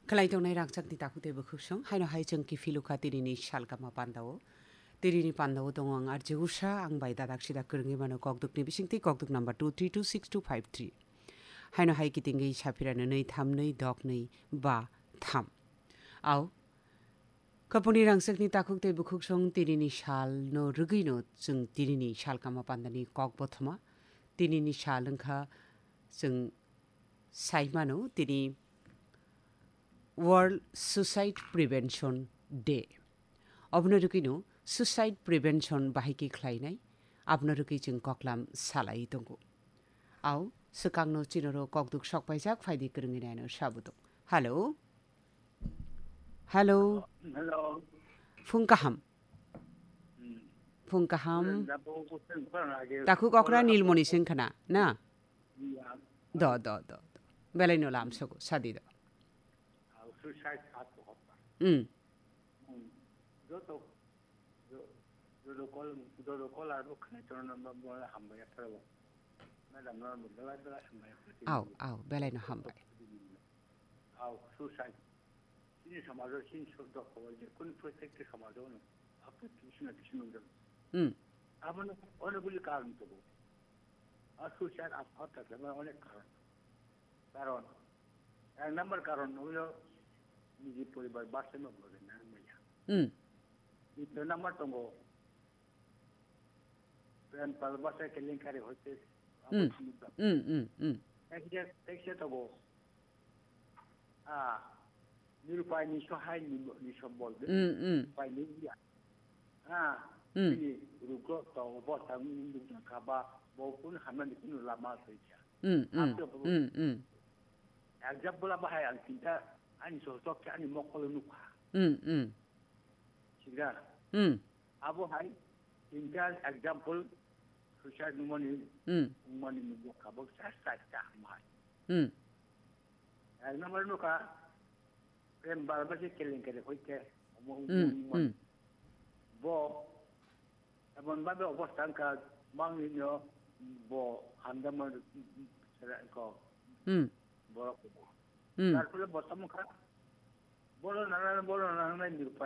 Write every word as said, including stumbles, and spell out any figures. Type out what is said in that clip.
Khlai tongnai rangchakni takhuk tei bwkhwksong, haino hai chwng kiphilukha tinini salkama pandao. Tinini pandao tongo ang R J Usha, ang bai dadak sidak kwrwngwi mano kokdukni bisingtwi, kokduk number two three two six two five three. Haino hai kitingwi saphirano nwi tham nwi dok nwi ba tham. Ao, kapuni rangchakni takhuk tei bwkhwksong tinini salno rwgwino chwng tinini salkama pandani kok bothoma. Tinini sal wngkha chwng sai mano tini World Suicide Prevention Day. Obono rwgwino suicide prevention bahai khe khlainai, abono rwgwi chwng koklam salai tongo. Ao, swkangno chinoro kokduk sokpaijak phaidi kwrwngwi naino sabuduk. Hello. Hello. Hello. Phung kaham. Hmm. Phung kaham. Takhuk okra Nilmoni sengkhana, na? Do, do, do, do. Belai no lam sogo, sadi do. Suicide at the hospital. Hmm. Hmm. Joto, jo-, joto call, joto call aro khna chorna ba, ba hambai aphara. Madam na belai belai hambai aphara. Au, au, belai no hambai. Au, suicide. Chini samajo, chini sodok hobo, je kun protect samajo no. Apu kisuna kisuna jam. Hmm. Abano, ono buli karon to bo. A suicide at hospital, onek karon. Karon, ek number karon hwyo niji poribar bachai ma bwrwi nang manya. Hmm. Dui number tongo, prem bhalobasaye kelenkari hoite Hmm. Hmm, hmm, hmm. Ekje, ekje tongo, ah, nirupai ni sohai ni, ni sombol de. Hmm, hmm. Nirupai ni ya. Ah, Hmm. Ini rugo to bo tang ni kaba bo kun hamna ni kun lama soikha. Hmm, hmm. Ate bo Hmm, hmm. Example bahai ang cinta ani sohtok ani mokol nukha. Hmm, hmm. Sigra. Hmm. Abo hai cinta example suicide numani Hmm. Numani nukha bo sa sa sa hamai. Hmm. Ek number nukha, prem bhalobasaye kelenkari hoite, omo Hmm, omo hmm. Bo, emon bhabe obostha wngkha, bangni no bo hamjakma sera ko Hmm. borok. Hmm. Tar phole bo tamo kha, boro nana, boro nana nai nirupha.